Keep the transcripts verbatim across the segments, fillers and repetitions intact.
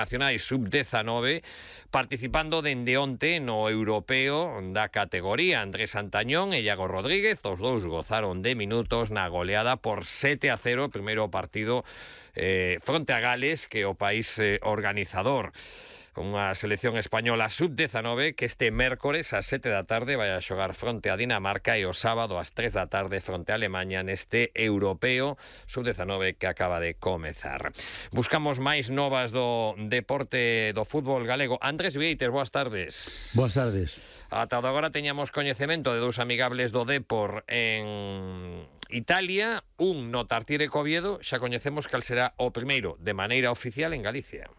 internacionais sub dezanove, participando dende onte no europeo da categoría. Andrés Santañón e Iago Rodríguez, os dous gozaron de minutos na goleada por sete a cero, primeiro partido eh, fronte a Gales, que é o país eh, organizador. Unha selección española sub dezanove que este mércores ás sete da tarde vai a xogar fronte a Dinamarca e o sábado ás tres da tarde fronte a Alemanha neste europeo sub dezanove que acaba de comezar. Buscamos máis novas do deporte do fútbol galego. Andrés Vieites, boas tardes. Boas tardes. Ata agora teñamos coñecemento de dous amigables do Depor en Italia, un no Tartiere Coviedo. Xa coñecemos cal será o primeiro de maneira oficial en Galicia.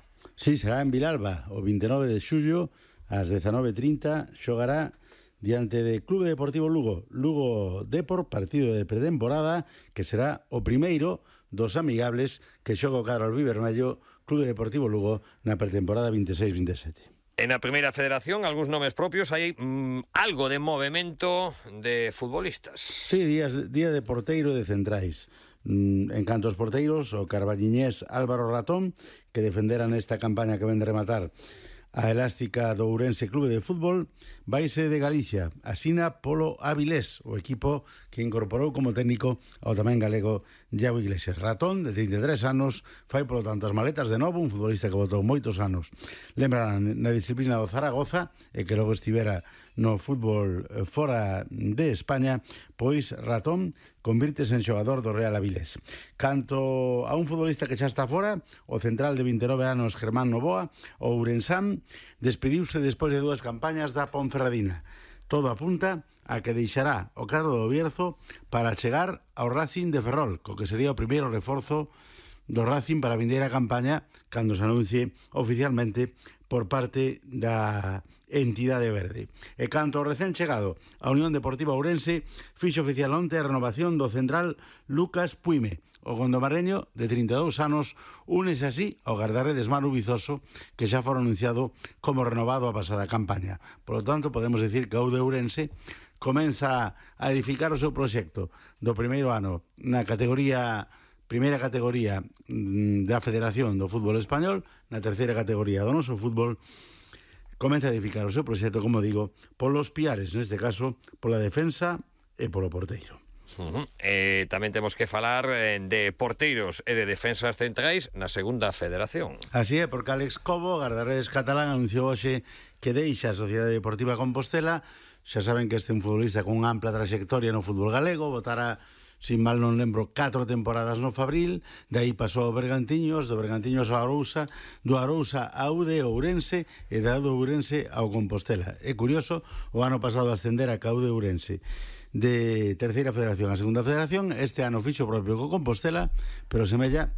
Sí, será en Vilalba, o vinte e nove de xullo, ás dezanove e trinta, xogará diante de Clube Deportivo Lugo. Lugo Depor, partido de pretemporada, que será o primeiro dos amigables que xoga o cadro albivermello Clube Deportivo Lugo na pretemporada vinte e seis vinte e sete. En a primeira federación, algúns nomes propios, hai mmm, algo de movimento de futbolistas. Sí, días, día de porteiro e de centrais. En canto aos porteiros, o carballiñés Álvaro Ratón, que defendera nesta campaña que ven de rematar a elástica do Ourense Clube de Fútbol, vaise de Galicia, asina polo Avilés, o equipo que incorporou como técnico ao tamén galego Iago Iglesias. Ratón, de trinta e tres anos, fai polo tanto as maletas de novo, un futbolista que botou moitos anos. Lembra na disciplina do Zaragoza, e que logo estivera no fútbol fora de España, pois Ratón convírtese en xogador do Real Avilés. Canto a un futbolista que xa está fora, o central de vinte e nove anos Germán Novoa, o ourensán, despediuse despois de dúas campañas da Ponferradina. Todo apunta a que deixará o cadro do Bierzo para chegar ao Racing de Ferrol, co que sería o primeiro reforzo do Racing para a vindeira campaña cando se anuncie oficialmente por parte da entidade verde. E canto ao recén chegado, a Unión Deportiva Ourense fixo oficial onte a renovación do central Lucas Puime. O gondomarreño, de trinta e dous anos, únese así ao gardarredes Manu Vizoso, que xa fora anunciado como renovado a pasada campaña. Por lo tanto, podemos decir que o de Ourense comeza a edificar o seu proxecto do primeiro ano na categoría primeira categoría da Federación do Fútbol Español, na terceira categoría do noso fútbol, comeza a edificar o seu proxecto, como digo, polos piares, neste caso, pola defensa e polo porteiro. Uh-huh. Eh, tamén temos que falar eh, de porteiros e de defensas centrais na segunda federación. Así é, porque Alex Cobo, gardarredes catalán, anunciou hoxe que deixa a Sociedade Deportiva Compostela. Xa saben que este é un futbolista con unha ampla trayectoria no fútbol galego, votara, sin mal non lembro, catro temporadas no Fabril, de aí pasou ao Bergantiños, do Bergantiños ao Arousa, do Arousa ao de Ourense e da do Ourense ao Compostela. É curioso, o ano pasado ascender a Caude Ourense de terceira federación a segunda federación, este ano fixo propio co Compostela, pero semella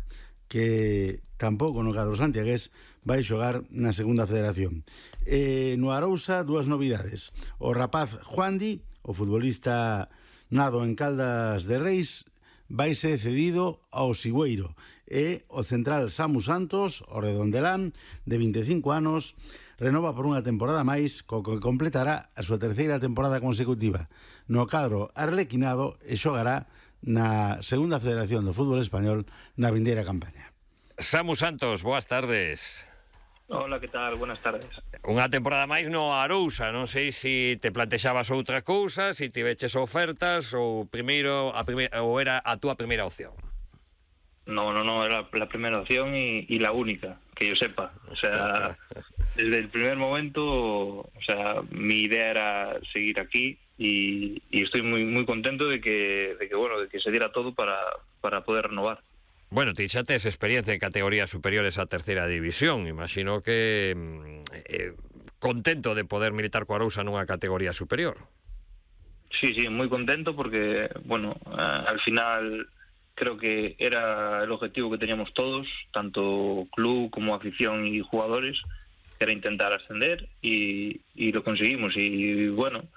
que tampouco no cadro santiagués vai xogar na segunda federación. E no Arousa, dúas novidades. O rapaz Juandi, o futbolista nado en Caldas de Reis, vai ser cedido ao Sigüeiro, e o central Samu Santos, o redondelán, de vinte e cinco anos, renova por unha temporada máis, co que completará a súa terceira temporada consecutiva no cadro arlequinado e xogará na segunda federación do fútbol español na vindeira campaña. Samu Santos, boas tardes. Hola, que tal? Buenas tardes. Unha temporada máis no Arousa, non sei se te plantexabas outra cousa, se tiveches ofertas ou primeiro a primeira, ou era a túa primeira opción. No, no, no, era la primera opción y, y la única, que yo sepa. O sea, desde el primer momento, o sea, mi idea era seguir aquí y, y estoy muy muy contento de que, de que bueno, de que se diera todo para, para poder renovar. Bueno, ti xa tes experiencia en categorías superiores a terceira división. Imagino que eh, contento de poder militar co Arousa nunha categoría superior. Sí, sí, muy contento porque, bueno, uh, al final creo que era el objetivo que teníamos todos, tanto club como afición y jugadores, que era intentar ascender y, y lo conseguimos. Y bueno,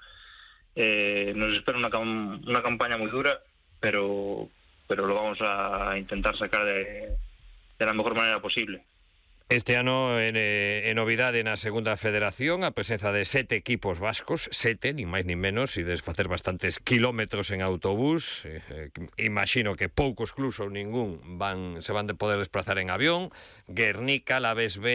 eh, nos espera una, cam una campaña muy dura, pero... pero lo vamos a intentar sacar de, de la mejor manera posible. Este ano, en, en novidade na segunda federación, a presenza de sete equipos vascos, sete, nin máis nin menos, e desfacer bastantes kilómetros en autobús. Eh, imagino que poucos clubs ou ningún van, se van de poder desplazar en avión. Guernica, Laves B,